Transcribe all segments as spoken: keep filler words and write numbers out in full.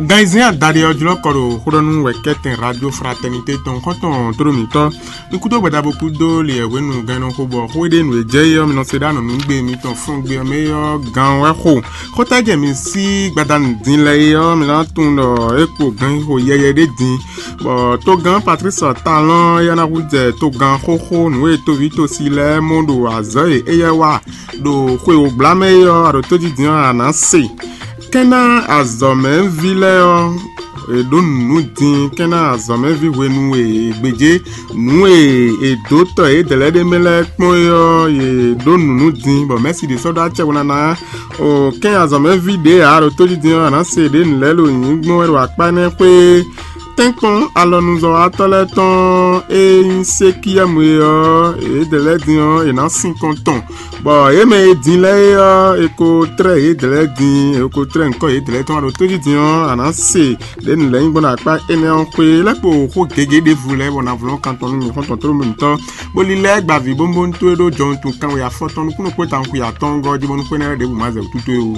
Gan e zɛ́n adaɖé ɔ́ jlɔ́ kɔ ɖo xóɖɔ́nú wɛ kɛ́tɛn Radio Fraternité tɔn xɔ́ntɔn tlóló mǐtɔn. Ní kúdó gbɛdá bó kúdó li yɛ hwenu gannɔ xó bɔ xó e ɖe nǔ e jɛ é ɔ́, mi nɔ se ɖó anɔ̌nugbe mitɔn fúngbé ɔ́ mɛ é ɔ́, gan wɛ xo. Xóta jɛ mi sí gbadanu din lɛ́ɛ é ɔ́, mi ná tunwun ɖɔ é kpo ganxixo yɛyɛ ɖé din, bɔ togán Patlísi Talɔ́n éyɛ́ ná hú jɛ togán xóxó nǔ e toví tosi lɛ́ɛ mɔ ɖo azɔ̌ e éyɛ́ wa ɖo xwe wǒgbla mɛ é ɔ́, a ɖo tójijǐ ɔ́, a nǎ se. Kɛ́n ná azɔ̌mɛví lɛ́ɛ ɔ́, è ɖǒ nǔ din, kɛ́n ná azɔ̌mɛví hwenu e è gbějé nǔ e è dǒ tɔ yědɛɛ lɛ́ɛ ɖ'é mɛ lɛ́ɛ kpɔ́n é ɔ́, yě ɖǒ nǔ nú din, bɔ mɛ̌si ɖě sɔ́ ɖó acɛ bó ná ná. O kɛ́n azɔ̌mɛví ɖě ǎ ɖo tójijǐ ɔ́, a nǎ se ɖě nǔ lɛ́ɛ ɖo nyǐnyí gbɔn wɛ ɖo akpá énɛ́ xwé. Tɛ́nkpɔ́n alɔnuzɔ́watɔ́ lɛ́ɛ tɔn e nyí Sekiyɛ́mu é ɔ́, yědɛɛ lɛ́ɛ din ɔ́, è nǎ sin kɔn tɔn, bɔ yě mɛ e din lɛ́ɛ é ɔ́, è ko tlɛ́ yědɛɛ lɛ́ɛ din, è ko tlɛ́ nyǐkɔ yědɛɛ lɛ́ɛ tɔn wá ɖo tójijǐ ɔ́, a nǎ se ɖě nǔ lɛ́ɛ nyí gbɔn ɖo akpá énɛ́ ɔ́ xwé lɛ́ kpo xó gěgé ɖěvo lɛ́ɛ, bɔ nǎ vlɔ́n kan tɔn nú mì xɔ́ntɔn tlóló mǐtɔn, bó lílɛ́ gba vǐ bónbóntó e ɖó jɔwuntun kanwe afɔtɔn nukúnnú kpó tawun xwe atɔ́ɔ́ngɔ́ ɔ́ jí, bónú xwé énɛ́ lɛ́ɛ ɖěbǔ ma zɛ wǔtútú é ó.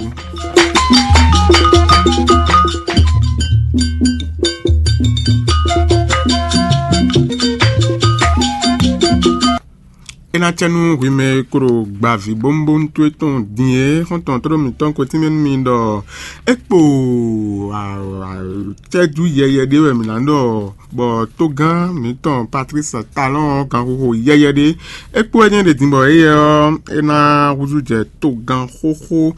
É ná cɛ nú hwi mɛ e klo gba vǐ bónbónú towe tɔn din é, xɔ́ntɔn tlóló mǐtɔn ko tínmɛ nú mi ɖɔ é kpo cɛ́jú yɛyɛ ɖé wɛ mǐ ná ɖɔ, bɔ tógán mǐtɔn Patlísi Talɔ́n ɔ́, ganxixo yɛyɛ ɖé, é kpo wɛ nyɛ ɖe din, bɔ éyɛ́ ɔ́, é ná húzú jɛ togán xóxó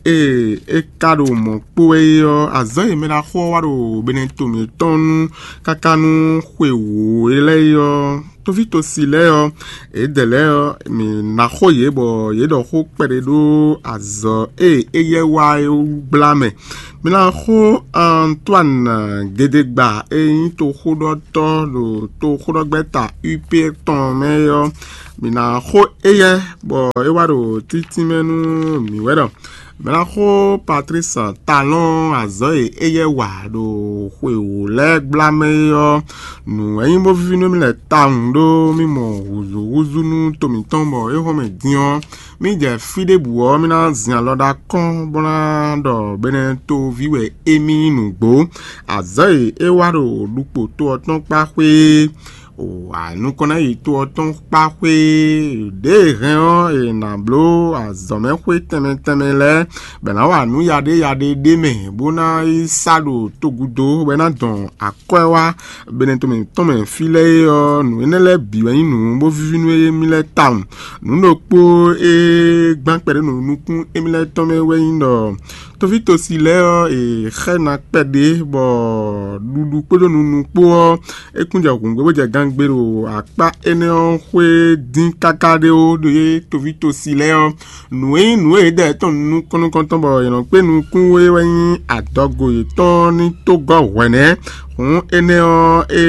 e é ka ɖo mɔ̌ kpó wɛ é ɔ́, azɔ̌ e mɛ ɖaxó ɔ́ wa ɖo benɛto mǐtɔn nu káká nú xwe wǒ é lɛ́ɛ é ɔ́, tóví tosi lɛ́ɛ ɔ́, yědɛɛ lɛ́ɛ ɔ́, mǐ ná xo yě bɔ yě ɖɔ xó kpɛɖé ɖó azɔ̌ e éyɛ́ wa é wú gbla mɛ. Mi ná xo Antoine Gedegba e nyí toxóɖɔtɔ́ ɖo toxóɖɔgbɛ́ta U P tɔn mɛ é ɔ́, mi ná xo éyɛ́, bɔ é wá ɖo títínmɛ nú mǐ wɛ ɖɔ mǐ ná xo Patlísi Talɔ́n azɔ̌ e éyɛ́ wa ɖo xwe wǒ lɛ́ɛ gbla mɛ é ɔ́, nǔ wɛ nyí bó víví nú mì lɛ́ɛ tawun ɖó mì mɔ hǔzúhúzú nú to mǐtɔn bɔ é hɔn mɛ din ɔ́, mì jɛ fí ɖěbǔ ɔ́, mì ná zin alɔ ɖó akɔ́n bó ná ɖɔ benɛtoví wɛ émí nyí nǔgbó. Azɔ̌ e é wa ɖo ɖukpo to ɔ́ tɔn kpá xwé é, wǎ nukɔn ná yi to ɔ́ tɔn kpá xwé é, ɖěe hɛn ɔ́, è nǎ bló azɔ̌mɛxwé tɛnmɛ tɛnmɛ lɛ́ɛ, bɔ è nǎ wa nǔ yaɖé yaɖé ɖé mɛ, bó ná yi sá ɖo togúdo, bɔ é ná dɔn akwɛ́ wá benɛto mǐtɔn mɛ fí lɛ́ɛ é ɔ́, nǔ énɛ́ lɛ́ɛ bǐ wɛ nyí nǔ bó víví nú émí lɛ́ɛ tawun. Nǔ ɖokpó e gbán kpɛɖé nukún émí lɛ́ɛ tɔn mɛ wɛ nyí ɖɔ tóví tosi lɛ́ɛ ɔ́, è xɛ́ ná kpɛɖé, bɔ ɖuɖu kpódó nunu kpó ɔ́, é kún jɛ hǔngbé bó jɛ gangbé ɖo akpá énɛ́ ɔ́ xwé dín káká ɖé ó, ɖo yé tóví tosi lɛ́ɛ ɔ́. Nǔ e nyí nǔ e yě ɖɔ tɔn nukɔn nukɔntɔn bɔ è nɔ kpé nukún é wɛ nyí adɔgo yětɔn ní tó gɔ́ hwɛ̌nɛ́. Hǔn énɛ́ ɔ́, é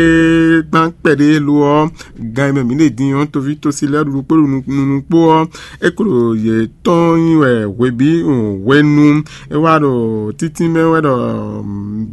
gbán kpɛɖé lo ɔ́, gan e mɛ mǐ ɖe din ɔ́, toví tosi lɛ́ɛ ɖuɖu kpó nunu kpó ɔ́, é klo yě tɔn nyi wɛ hwebǐ hwenu. É wá ɖo títí mɛ wɛ ɖɔ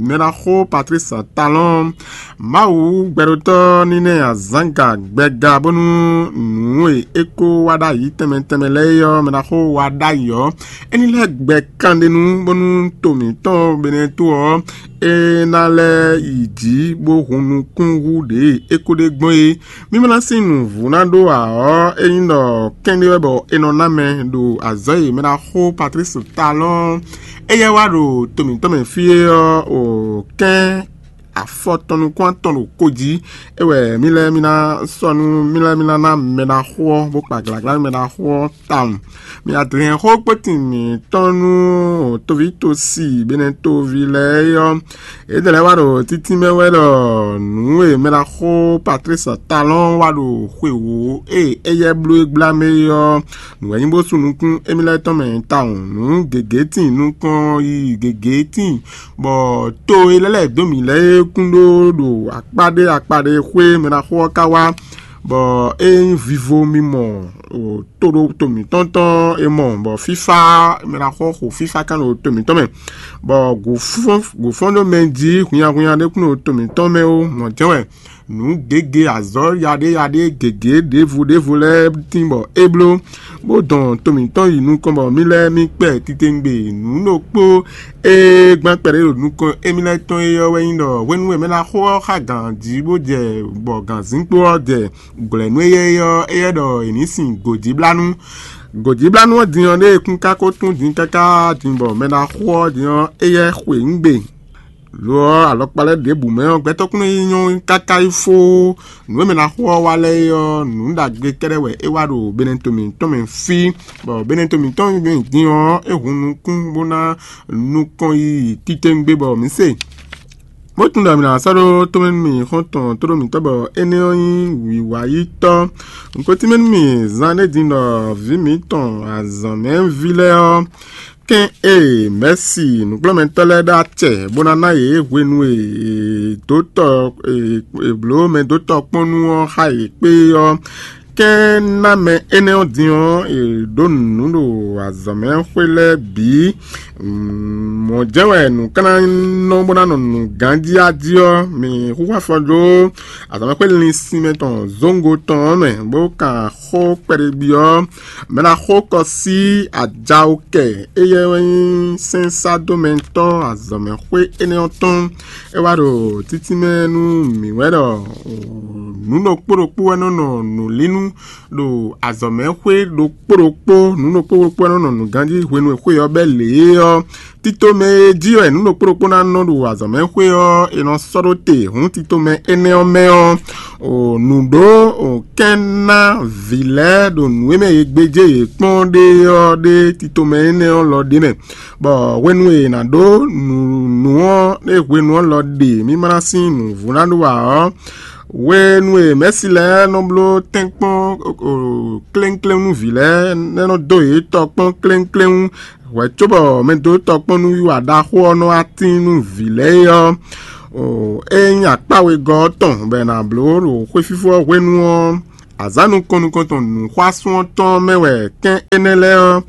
mɛɖaxó Patlísi Talɔ́n, Mawu gbɛɖotɔ́ ní ná ɛ azǎn ga gbɛga bónú nǔ e é ko wa ɖ'ayǐ tɛnmɛ tɛnmɛ lɛ́ɛ é ɔ́, mɛɖaxó wa ɖ'ayǐ ɔ́, é ní lɛ́ gbɛ kanɖénu bónú to mǐtɔn Benɛto ɔ́, é ná lɛ́ yi jǐ bó hun nukún hú ɖě e é ko ɖe gbɔn é. Mí ma ná sín nǔvú ná ɖó ǎ ɔ́, é nyí ɖɔ kɛ́n ɖé wɛ bɔ è nɔ ná mɛ ɖo azɔ̌ e mɛɖaxó Patlísi Talɔ́n éyɛ́ wá ɖo to mǐtɔn mɛ fí é ɔ́, o kɛ́n afɔtɔn nukún atɔn ɖo ko jí. É wɛ mí lɛ́ɛ mí ná sɔ́ nú mí lɛ́ɛ mí ná ná mɛɖaxó ɔ́, bó kpa glǎglá nú mɛɖaxó ɔ́ tawun. Mi adlɛ̌nxó kpótin mǐtɔn nú toví tosi Benɛtoví lɛ́ɛ é ɔ́, yědɛɛ lɛ́ɛ wá ɖo títí mɛ wɛ ɖɔ nǔ e mɛɖaxó Patlísi Talɔ́n wa ɖo xwe wǒ e éyɛ́ bló é gbla mɛ é ɔ́, nǔ wɛ nyí bó sú nukún émí lɛ́ɛ tɔn mɛ tawun. Nǔ gěgé tíin nukɔn yiyi gěgé tíin, bɔ to e lɛ́ lɛ̌ dó mǐ lɛ́ɛ é kún ɖó ɖo akpá ɖé akpá ɖé xwé mɛɖaxó ɔ́ ka wá, bɔ é nyí vivo mimɔ ɖo ɖo to mǐtɔn tɔn e mɔ bɔ fífá mɛ ná xɔ xo fífá kan ɖo to mǐtɔn mɛ, bɔ gǔfɔ́n gǔfɔ́n ɖo mɛ jí hunnyahunnya ɖé kún ɖo to mǐtɔn mɛ ó. Mɔ̌ jɛ́n wɛ nǔ gěgé azɔ̌ yaɖéyaɖé gěgé ɖěvo ɖěvo lɛ́ɛ tín bɔ é bló, bó dɔn to mǐtɔn yi nukɔn bɔ mì lɛ́ɛ mì kpɛ titewungbe. Nǔ ɖokpó e gbán kpɛɖé ɖo nukɔn émí lɛ́ɛ tɔn é ɔ́ wɛ nyí ɖɔ hwenu e mɛ ná xo ɔ́ xá gǎn jí bó jɛ bɔ gǎnzínkpo ɔ́ jɛ gbɔ̌ nú éyɛ́ é ɔ́, éyɛ́ ɖɔ è nǐ sin gǒjíblánú. Gǒjíblánú ɔ́ din ɔ́, ɖée kún ka ko tún din káká din bɔ mɛ ná xo ɔ́ din ɔ́, éyɛ́ xwe nǔ gbe. Lo ɔ́, alɔkpa lɛ́ɛ ɖěbǔ mɛ ɔ́, gbɛtɔ́ kún nɔ yi nyɔ́ káká yi fó. Nǔ e mɛ ná xo ɔ́ wá lɛ́ɛ é ɔ́, nǔ ɖagbe kɛ́ɖɛ́ wɛ é wá ɖo Benɛto mǐtɔn mɛ fí, bɔ Benɛto mǐtɔn din ɔ́, é hun nukún bó ná nukɔn yiyi titewungbe bɔ mǐ se. Bó tunwun ɖɔ mǐ ná sɔ́ ɖó tomɛ nú mì xɔ́ntɔn tóɖó mǐtɔn bɔ énɛ́ ɔ́ nyí wǐwáyítɔ́. Un ko tínmɛ nú mì zán ɖé din ɖɔ vǐ mǐtɔn azɔ̌mɛví lɛ́ɛ ɔ́, kɛ́n e mɛ̌si nǔkplɔ́nmɛtɔ́ lɛ́ɛ ɖó acɛ bó ná ná yě hwenu e dǒtɔ e blǒ mɛ dó tɔkpɔ́n nú ɔ́ xá yě kpé ɔ́, kɛ́n ná mɛ énɛ́ ɔ́ din ɔ́, è ɖǒ nǔ ɖo azɔ̌mɛxwé lɛ́ɛ bǐ. Mɔ̌ jɛ́n wɛ nǔ ka ná nɔ bó ná nɔ nǔ ganjí a jí ɔ́, mi xúxú afɔ dó azɔ̌mɛxwé linsin mɛ tɔn zóŋgo tɔn ɔ́ mɛ, bó kan xó kpɛɖé byɔ́ mɛ ná xó kɔ sí ajawokɛ éyɛ́ wɛ nyí sɛ́nsádomɛtɔ́ azɔ̌mɛxwé énɛ́ ɔ́ tɔn. É wá ɖo títínmɛ nú mǐ wɛ ɖɔ nǔ ɖokpó ɖokpó wɛ nɔ nɔ nǔlínú ɖo azɔ̌mɛxwé ɖokpó ɖokpó, nǔ ɖokpó ɖokpó wɛ nɔ nɔ nǔganjí hwenu e xwé ɔ́ bɛ́ lě é ɔ́, tito mɛ e jí wɛ nǔ ɖokpó ɖokpó ná nɔ ɖo azɔ̌mɛxwé ɔ́, è nɔ sɔ́ ɖó te. Hǔn tito mɛ énɛ́ ɔ́ mɛ ɔ́, nǔ ɖó kɛ́n ná vǐ lɛ́ɛ ɖo nǔ e mɛ è gbéjé yě kpɔ́n ɖe ɔ́ ɖé tito mɛ énɛ́ ɔ́ lɔ ɖ'é mɛ, bɔ hwenu e è nǎ ɖó nǔ ɔ́ ɖe hwenu ɔ́ lɔ ɖe mí ma ná sín nǔvú ná ɖó ǎ ɔ́, hwenu e mɛ̌si lɛ́ɛ nɔ bló tɛ́nkpɔ́n kléŋkléŋ nú vǐ lɛ́ɛ, nɛ́ nɔ dó yě tɔ kpɔ́n kléŋkléŋ hwɛ̌ cóbɔ mɛ dó tɔ kpɔ́n nú wiwa ɖaxó ɔ́ nɔ wá tín nú vǐ lɛ́ɛ é ɔ́, é nyí akpá wegɔ́ ɔ́ tɔn bɔ è nǎ bló ɖo xwéfífó ɔ́ hwenu ɔ́, azǎn nukɔn nukɔn tɔn nǔxwásún ɔ́ tɔn mɛ wɛ kɛ́n énɛ́ lɛ́ɛ ɔ́,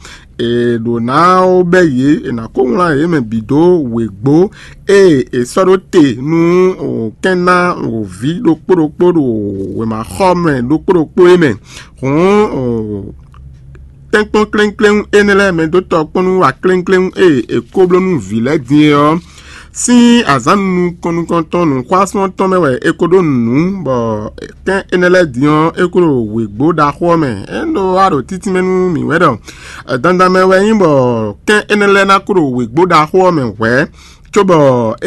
è ɖǒ ná ó bɛ́ yě; è nǎ kó wlán yě mɛ bǐ dó wěgbó e è sɔ́ ɖó te nú kɛ́n ná wǒví ɖokpó ɖokpó ɖo wěmaxɔmɛ ɖokpó ɖokpó é mɛ. Hǔn tɛ́nkpɔ́n kléŋkléŋ énɛ́ lɛ́ɛ mɛ dó tɔ kpɔ́n nú wa kléŋkléŋ e è ko bló nú vǐ lɛ́ɛ din é ɔ́, sín azǎn nukɔn nukɔntɔn nǔxwásún ɔ́ tɔn mɛ wɛ è ko ɖó nǔ, bɔ kɛ́n énɛ́ lɛ́ɛ din ɔ́, é ko ɖo wěgbó ɖaxó ɔ́ mɛ. É ɖó wá ɖo títínmɛ nú mǐ wɛ ɖɔ dandan mɛ wɛ nyí bɔ kɛ́n énɛ́ lɛ́ɛ ná ko ɖo wěgbó ɖaxó ɔ́ mɛ hwɛ̌, cóbɔ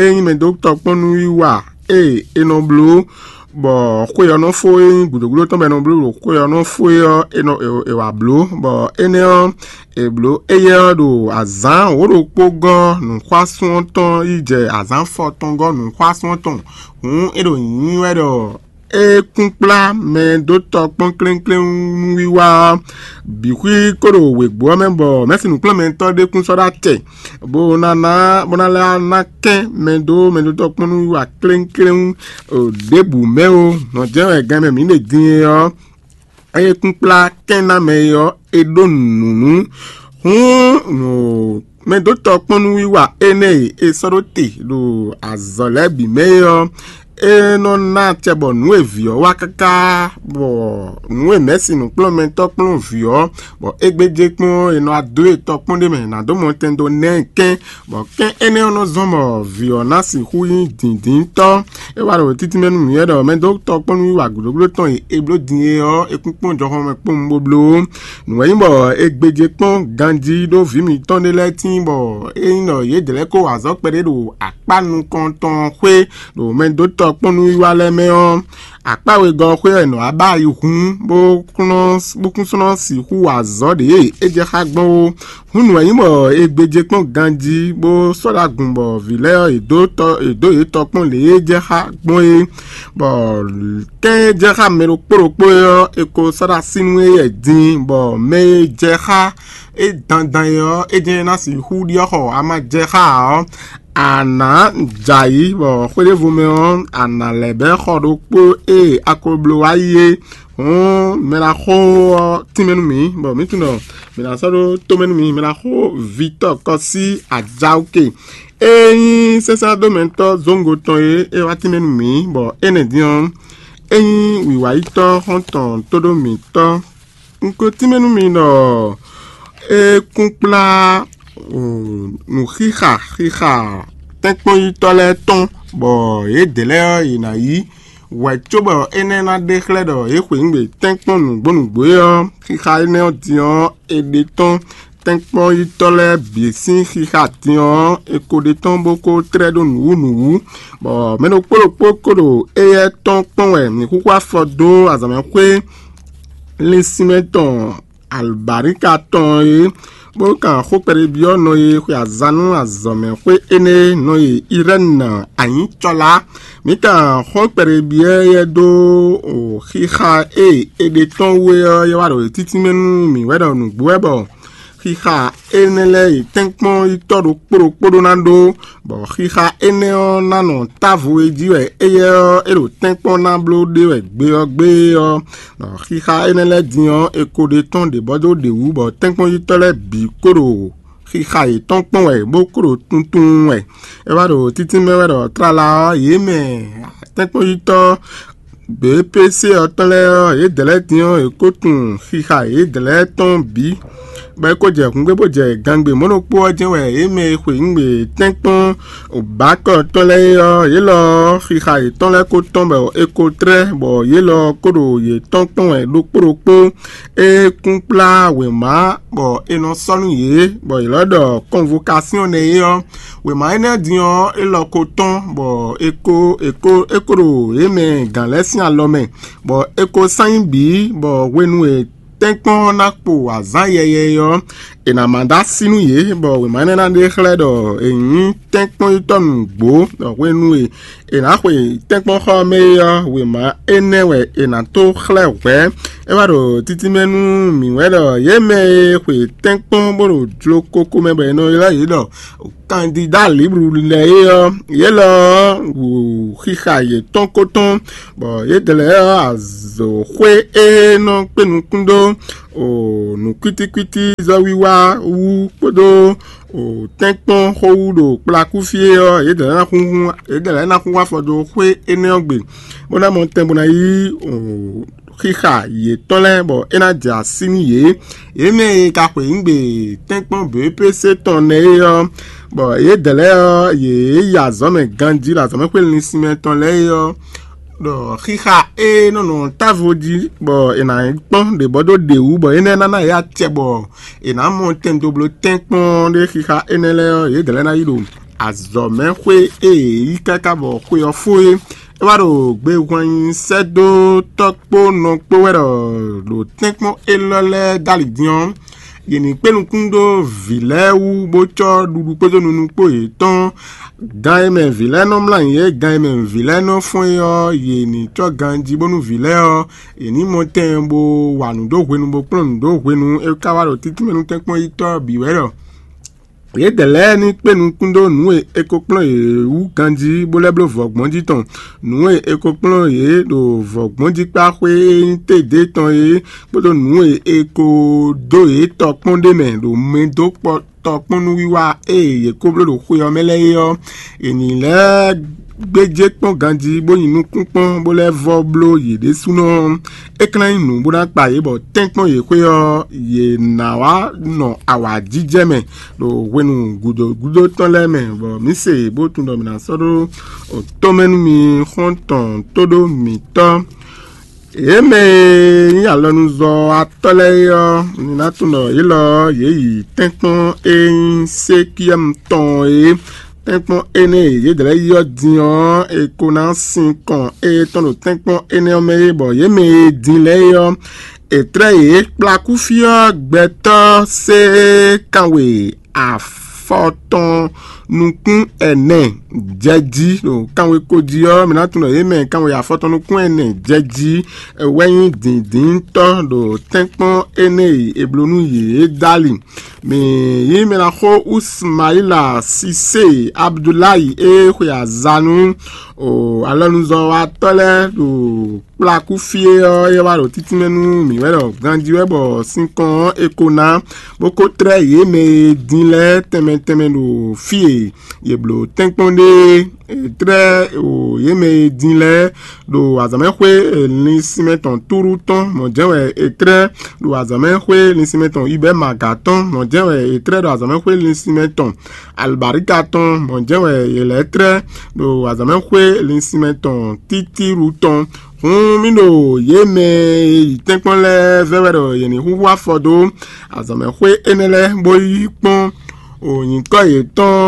é nyí mɛ dó tɔ kpɔ́n nú wiwa e è nɔ bló, bɔ xwe ɔ́ nɔ fó e nyí gǔdo gúdo tɔn bɔ è nɔ bló ɖo xwe ɔ́ nɔ fó é ɔ́, è nɔ è wǎ bló, bɔ énɛ́ ɔ́, è blǒ éyɛ́ ɔ́ ɖo azǎn wǒ ɖokpó gɔ́ nǔxwásún ɔ́ tɔn yi jɛ azǎn fɔtɔn gɔ́ nǔxwásún ɔ́ tɔn. Hǔn é ɖo nyǐnyí wɛ ɖɔ é kún kplá mɛ dó tɔ kpɔ́n kléŋkléŋ nú wiwa ɔ́ bǐ xwí kó ɖo wěgbó ɔ́ mɛ, bɔ mɛ̌si nǔkplɔ́nmɛtɔ́ ɖé kún sɔ́ ɖó acɛ, bó ná ná bó ná lɛ́ ná kɛ́n mɛ dó mɛ dó tɔ kpɔ́n nú wiwa kléŋkléŋ ɖěbǔ mɛ ó. Nɔ̌ jɛ́n wɛ gɛn mɛ mǐ ɖe din é ɔ́, ée kún kplá kɛ́n ná mɛ é ɔ́, è ɖó nǔ nú. Hǔn mɛ dó tɔ kpɔ́n nú wiwa énɛ́ e è sɔ́ ɖó te ɖo azɔ̌ lɛ́ɛ bǐ mɛ é ɔ́, é nɔ ná acɛ bɔ nǔ e vǐ ɔ́ wa káká, bɔ nǔ e mɛ̌si nǔkplɔ́nmɛtɔ́ kplɔ́n vǐ ɔ́, bɔ é gbéjé kpɔ́n è nɔ adó e tɔkpɔ́n ɖé mɛ nǎ dó mɔtɛn dó ná ɛ kɛ́n, bɔ kɛ́n énɛ́ ɔ́ nɔ zɔ́n bɔ vǐ ɔ́ ná sixú nyí dǐndíntɔ́. É wá ɖo títínmɛ nú mǐwɛ́ ɖɔ mɛ dó tɔkpɔ́n nú wiwa gǔdógúdó tɔn e è bló din é ɔ́, è kún kpɔ́n jɔxɔmɛ kpɔ́n bó bló. Nǔ wɛ nyí bɔ è gbéjé kpɔ́n ganjí ɖó vǐ mǐtɔn ɖé lɛ́ɛ tíin bɔ é nyí ɖɔ yědɛɛ lɛ́ɛ kó wa azɔ̌ kpɛɖé ɖo akpá nukɔn tɔn xwé ɖo mɛ dó tɔkpɔ́n nú wiwa lɛ́ɛ mɛ ɔ́, akpá wegɔ́ ɔ́ xwé wɛ è nɔ wá ba yi hǔn bó kún sɔ́ sixú wa azɔ̌ ɖě e é jɛ xá gbɔn ó. Hǔn nǔ wɛ nyí bɔ è gbéjé kpɔ́n ganjí bó sɔ́ ɖó agun bɔ vǐ lɛ́ɛ ɔ́, è dǒ tɔ è dǒ yě tɔ kpɔ́n lě e é jɛ xá gbɔn é, bɔ kɛ́n e jɛ xá mɛ ɖokpó ɖokpó é ɔ́, è ko sɔ́ ɖó así nú éyɛ́ din, bɔ mɛ e jɛ xá é dandan é ɔ́, é jɛ́n ná sixú ɖyɔ́ xɔ ama jɛ xá ǎ ɔ́, a nǎ jɛ ayǐ, bɔ xwé ɖěvo mɛ ɔ́, a nǎ lɛ́ bɛ́ xɔ ɖokpó e a ko bló wá yi é. Hǔn mɛ ná xo ɔ́ tínmɛ nú mǐ, bɔ mǐ tunwun ɖɔ mǐ ná sɔ́ ɖó tómɛ nú mǐ. Mɛ ná xo Vitɔ́ɔ Kɔsí Ajaoke. É nyí sɛ́nsɛ́dómɛtɔ́ zóngo tɔn e é wá tínmɛ nú mǐ, bɔ énɛ́ din ɔ́, é nyí wǐwáyítɔ́ xɔ́ntɔn tóɖó mǐtɔn. Un ko tínmɛ nú mi ɖɔ é kún kplá nǔxixa xixa tɛ́nkpɔ́nyítɔ́ lɛ́ɛ tɔn, bɔ yědɛɛ lɛ́ɛ ɔ́, yě ná yí hwɛ̌ cóbɔ énɛ́ ná ɖe xlɛ́ ɖɔ yě xweyǐgbe tɛ́nkpɔ́n nǔgbó nǔgbó é ɔ́, xixa énɛ́ ɔ́ din ɔ́, è ɖe tɔ́n tɛ́nkpɔ́nyítɔ́ lɛ́ɛ bǐ sín xixa din ɔ́, è ko ɖe tɔ́n bó ko tlɛ́ ɖó nǔwú nǔwú, bɔ mɛ ɖokpó ɖokpó ko ɖo éyɛ́ tɔn kpɔ́n wɛ mǐ xúxú afɔ dó azǎnmɛxwé linsinmɛ tɔn alɔbǎnika tɔn é, bó kan xó kpɛɖébyɔ́ nɔ e xwe azan nú azɔ̌mɛxwé énɛ́ nɔ e Irɛ́ni anyǐcɔ́lá. Mǐ kan xó kpɛɖébyɔ́ éyɛ́ dó xixa e è ɖe tɔn wú é ɔ́, é wá ɖo títínmɛ nú mǐ wɛ ɖɔ nǔgbó wɛ bɔ xixa énɛ́ lɛ́ɛ yi tɛ́nkpɔ́n yi tɔ́ ɖokpó ɖokpó ɖó ná ɖó, bɔ xixa énɛ́ ɔ́ ná nɔ távo e jí wɛ éyɛ́ ɔ́, é ɖo tɛ́nkpɔ́n ná bló ɖe wɛ gbe ɔ́ gbé ɔ́, bɔ xixa énɛ́ lɛ́ɛ din ɔ́, è ko ɖe tɔ́n ɖě bɔ dó ɖě wú, bɔ tɛ́nkpɔ́nyítɔ́ lɛ́ɛ bǐ ko ɖo xixa yětɔn kpɔ́n wɛ, bó ko ɖo tuntun wɛ. É wá ɖo títínmɛ wɛ ɖɔ tlala ɔ́, yě mɛ tɛ́nkpɔ́nyítɔ́ B P C ɔ́ tɔn lɛ́ɛ ɔ́, yědɛɛ lɛ́ɛ din ɔ́, è ko tunwun xixa yědɛɛ lɛ́ɛ tɔn bǐ, bɔ é ko jɛ hǔngbé bó jɛ gangbe mɔ̌ ɖokpó ɔ́ jɛ́n wɛ yě mɛ e xweyǐgbe tɛ́nkpɔ́n bǎkɔ tɔn lɛ́ɛ é ɔ́, yě lɔ ɔ́, xixa yětɔn lɛ́ɛ ko tɔ́n bɔ è ko tlɛ́, bɔ yě lɔ ɔ́ ko ɖo yě tɔn kpɔ́n wɛ ɖokpó ɖokpó. É kún kplá wěma bɔ è nɔ sɔ́ nú yě, bɔ yě lɔ ɖɔ kɔnvokasyɔn nɛ́ é ɔ́, wěma énɛ́ din ɔ́, é lɔ ko tɔ́n, bɔ è ko è ko é ko ɖo yě mɛ gǎn lɛ́ɛ sín alɔ mɛ, bɔ è ko sán nyí bǐ, bɔ hwenu e tɛ́nkpɔ́n ɔ́ ná kpo azǎn yɛyɛ ɔ́, è nǎ ma dó así nú yě, bɔ wěma énɛ́ ná ɖe xlɛ́ ɖɔ è nyǐ tɛ́nkpɔ́nyítɔ́ nǔgbó, ɖɔ hwenu e è nǎ xwe tɛ́nkpɔ́nxɔ ɔ́ mɛ é ɔ́, wěma énɛ́ wɛ è nǎ tó xlɛ́ hwɛ̌. É wá ɖo títínmɛ nú mǐ wɛ ɖɔ yě mɛ e xwe tɛ́nkpɔ́n bó ɖo jló kókó mɛ bɔ è nɔ ylɔ́ yě ɖɔ kandidá libru lɛ́ɛ é ɔ́, yě lɔ ɔ́ wu xixa yětɔn ko tɔn, bɔ yědɛɛ lɛ́ɛ ɔ́, azɔ̌xwé e nɔ kpé nukún dó nǔkwítíkwítí zɔ́wiwa wú kpódó tɛ́nkpɔ́n xó wú ɖo kplakú fí é ɔ́, yědɛɛ lɛ́ɛ ná xúnxún yědɛɛ lɛ́ɛ ná xúnxún afɔ dó xwé énɛ́ ɔ́ gbe, bó ná mɔ tɛn bó ná yí xixa yětɔn lɛ́ɛ, bɔ é ná jɛ así nú yě. Yě mɛ e ka xweyǐgbe tɛ́nkpɔ́n B P C tɔn nɛ́ é ɔ́, bɔ yědɛɛ lɛ́ɛ ɔ́, yě yi azɔ̌ mɛ ganjí ɖo azɔ̌mɛxwé linsinmɛ tɔn lɛ́ɛ é ɔ́, ɖɔ xixa e nɔ nɔ távo jí, bɔ è nǎ kpɔ́n ɖě bɔ dó ɖě wú, bɔ énɛ́ ná ná yě acɛ, bɔ è nǎ mɔ tɛn dó bló tɛ́nkpɔ́n ɖé xixa énɛ́ lɛ́ɛ ɔ́, yědɛɛ lɛ́ɛ ná yi ɖo azɔ̌mɛxwé e è yí káká bɔ xwe ɔ́ fó é. É wá ɖo gbehwan nyi sɛ́ dó tɔ́ kpó nɔ kpó wɛ ɖɔ ɖo tɛ́nkpɔ́n élɔ́ lɛ́ɛ dó ali din ɔ́, yě ní kpé nukún ɖó vǐ lɛ́ɛ wú, bó cɔ́ ɖuɖu kpódó nunu kpó yětɔn. Gan e mɛ vǐ lɛ́ɛ nɔ mlá nyǐ é, gan e mɛ vǐ lɛ́ɛ nɔ fɔ́n é ɔ́, yě ní cɔ́ ganjí bónú vǐ lɛ́ɛ ɔ́, yě ní mɔ tɛn bó wa nǔ dó hwenu, bó kplɔ́n nǔ dó hwenu. É ka wá ɖo títínmɛ nú tɛ́nkpɔ́n yítɔ́ bǐ wɛ ɖɔ yědɛɛ lɛ́ɛ ní kpé nukún dó nǔ e è ko kplɔ́n yě wú ganjí, bó lɛ́ bló vɔ̌gbɔ́njí tɔn. Nǔ e è ko kplɔ́n yě ɖo vɔ̌gbɔ́njíkpáxwé e nyí tédě tɔn é, kpódó nǔ e è ko dó yě tɔkpɔ́n ɖ'é mɛ ɖo mɛ dó kpɔ tɔkpɔ́nnúwiwa e yě ko bló ɖo xwe ɔ́ mɛ lɛ́ɛ é ɔ́, è nǐ lɛ́ gbéjé kpɔ́n ganjí, bó nyi nukún kpɔ́n, bó lɛ́ vɔ́ bló yě ɖésúnɔ. É ka ná nyí nǔ bó ná kpa yě, bɔ tɛ́nkpɔ́n yě xwé ɔ́, yě ná wá nɔ awǎjijɛ mɛ ɖo hwenu gǔdo gúdo tɔn lɛ́ɛ mɛ, bɔ mǐ se bó tunwun ɖɔ mǐ ná sɔ́ ɖó tɔ́mɛ nú mi xɔ́ntɔn tóɖó mǐtɔn. Yě mɛ e nyí alɔnuzɔ́watɔ́ lɛ́ɛ é ɔ́, mi ná tunwun ɖɔ yě lɔ ɔ́, yě yi tɛ́nkpɔ́n e nyí Sekiyɛ́mu tɔn é. Tɛ́nkpɔ́n énɛ́ e yě dlɛ̌ yi ɔ́ din ɔ́, è ko ná sin kɔn étɔn ɖo tɛ́nkpɔ́n énɛ́ ɔ́ mɛ é, bɔ yě mɛ e din lɛ́ɛ é ɔ́, è tlɛ́ yě kplá kú fí ɔ́ gbɛtɔ́ sé kanwe afɔtɔn nukún ɛnɛ jɛ jí ɖo kanwe ko jí ɔ́, mi ná tunwun ɖɔ yě mɛ kanwe afɔtɔn nukún ɛnɛ jɛ jí wɛ nyí dǐndíntɔ́ ɖo tɛ́nkpɔ́n énɛ́ e è bló nú yě é dó ali. Mǐ yí mɛ ná xó Usmaila Sise Abdulayi e xwe azǎn nú alɔnuzɔ́watɔ́ lɛ́ɛ ɖo kplakú fí é ɔ́, é wá ɖo títínmɛ nú mǐ wɛ ɖɔ ganjí wɛ bɔ sinkɔn ɔ́ è ko ná, bó ko tlɛ́ yě mɛ e din lɛ́ɛ tɛnmɛ tɛnmɛ ɖo fí e yě bló tɛ́nkpɔ́n ɖe é. È tlɛ́ o yě mɛ e din lɛ́ɛ ɖo azǎnmɛxwé linsinmɛ tɔn Túru tɔn mɔ̌ jɛ́n wɛ è tlɛ́, ɖo azǎnmɛxwé linsinmɛ tɔn Ibɛ́maga tɔn mɔ̌ jɛ́n wɛ è tlɛ́, ɖo azǎnmɛxwé linsinmɛ tɔn Alibáríka tɔn mɔ̌ jɛ́n wɛ yě lɛ́ tlɛ́, ɖo azǎnmɛxwé linsinmɛ tɔn Títíru tɔn. Hǔn mì ɖo yě mɛ e yi tɛ́nkpɔ́n lɛ́ɛ vɛ́ wɛ ɖɔ yě ní húhú afɔ dó azǎnmɛxwé énɛ́ lɛ́ɛ, bó yi kpɔ́n o nyǐkɔ yětɔn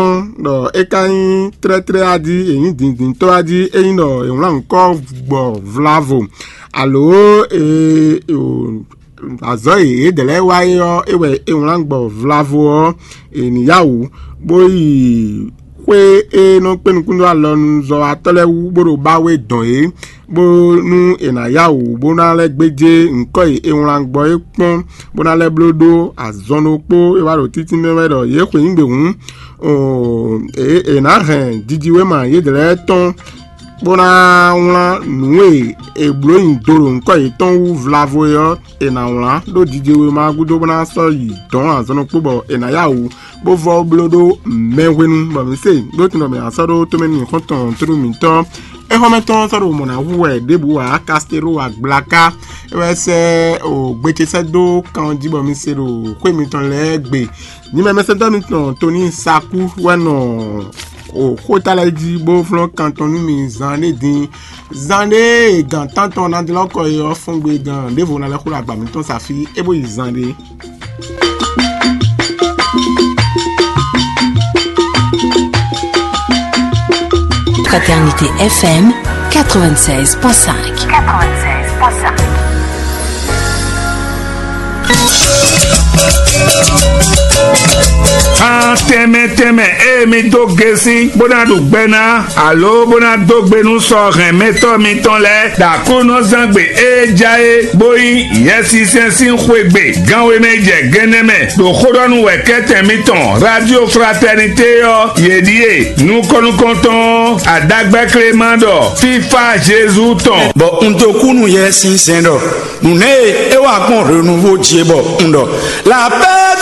ɖɔ é ka nyí tlɛ́tlɛ́ a jí, è nyǐ dǐndíntɔ́ a jí, é nyí ɖɔ è wlán nyǐkɔ gbɔ vlavo, alo e o azɔ̌ e yědɛɛ lɛ́ɛ wa é ɔ́, é wɛ è wlán gbɔ vlavo ɔ́, è nǐ yá wǔ, bó yi xwé e nɔ kpé nukúnnú alɔnuzɔ́watɔ́ lɛ́ɛ wú, bó ɖo ba we dɔn yě, bónú è nǎ yá wǔ bó ná lɛ́ gbéjé nyǐkɔ e è wlán gbɔ é kpɔ́n, bó ná lɛ́ bló ɖó azɔn ɖokpó e wá ɖo títínmɛ wɛ ɖɔ yě xweyǐgbe hǔn, è nǎ hɛn jijiwéma yědɛɛ lɛ́ɛ tɔn, bó ná wlán nǔ e è blǒ nyi do ɖo nyǐkɔ yětɔn wú vlavo é ɔ́, è nǎ wlán ɖó jijewéma ɔ́ gúdo bó ná sɔ́ yi dɔ̌n azɔn ɖokpó bɔ è nǎ yá wǔ bó vɔ́ bló ɖó mɛ hwenu, bɔ mǐ se ɖó tunɔ mɛ asɔ́ ɖó tomɛ nú xɔ́ntɔn tlú mǐtɔn. Éxɔ́mɛ tɔn sɔ́ ɖo mɔ̌ ná hu wɛ ɖěbǔ ǎ, Kasteló agblaka é wɛ sɛ́ o gbe ce sɛ́ dó kan jí bɔ mi se ɖo xwé mitɔn lɛ́ɛ gbe. Nyimɛmɛsɛntɔ́ mitɔn Toni Sakú wɛ nɔ o xóta lɛ́ɛ jí bó flɔ́n kan tɔn nú mi zan ɖé din. Zan ɖé e gǎn tántɔn ná dlɔ́ kɔ é ɔ́ fɔ́n gbe gǎn ɖěvo ná lɛ́ xo ɖo agba mitɔn sa fí é bó yi zan ɖé. Fraternité F M quatre-vingt-seize point cinq. Tɛnmɛ tɛnmɛ e mi dó gesi bó ná ɖu gbɛ ná, alo bó ná dó gbe nú sɔ hɛnmɛtɔ́ mitɔn lɛ́ɛ, ɖo Aklúnɔzán gbe e ja é, bó nyí Yɛsinsɛn sín xwé gbe, gan we mɛ jɛ gɛnɛ mɛ, ɖo xó ɖɔ nú wɛ̌kɛ́tɛn mitɔn Radio Fraternité ɔ́, yě ɖíe: nukɔn nukɔntɔn adagbɛ́ Klema ɖɔ fífá Jezu tɔn. Bɔ un dó kú nú Yɛsinsɛn ɖɔ nǔnɛ e é wa gbɔn hwenu vo jí é bɔ un ɖɔ: La paix